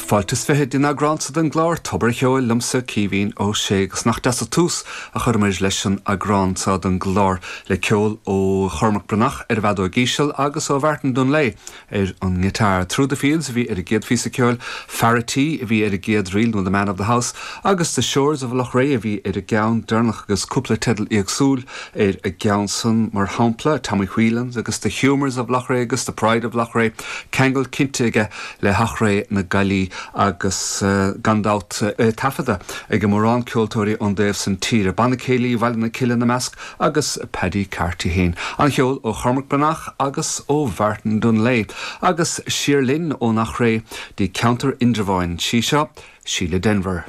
Fáilte is 20 dtí'n eagrán so den gclár Tobar a' Cheoil liomsa, Caoimhín Ó Sé, agus nach deas an tús a chuireamair leis an eagrán so den gclár le ceol ó Chormac Breathnach ar an bhfeadóig íseal agus ó Mhartin Dunlea ar an ngiotár. Through the Fields a bhí ar an gcéad phíosa ceoil, Fear a' Tí a bhí ar an gcéad ríl nó The Man of the House agus The Shores of Loughrea a bhí ar an gceann deireanach agus cúpla teideal éagsúil ar an gceann san, mar shampla, Tommy Whelan's agus The Humours of Loughrea agus The Pride of Loughrea, ceangal cinnte aige le hEachréidh na Gaillí agus gan dabht é taifeadta ag mórán ceoltóirí ón dtaobh san tíre, Banna Céilí Bhaile na Cille ina measc agus Paddy Carty féin. An cheol ó Chormac Breathnach agus ó Mhartin Dunlea. Agus siar linn ón Eachréidh dtí ceantar Indreabháin. Sí seo Síle Denvir.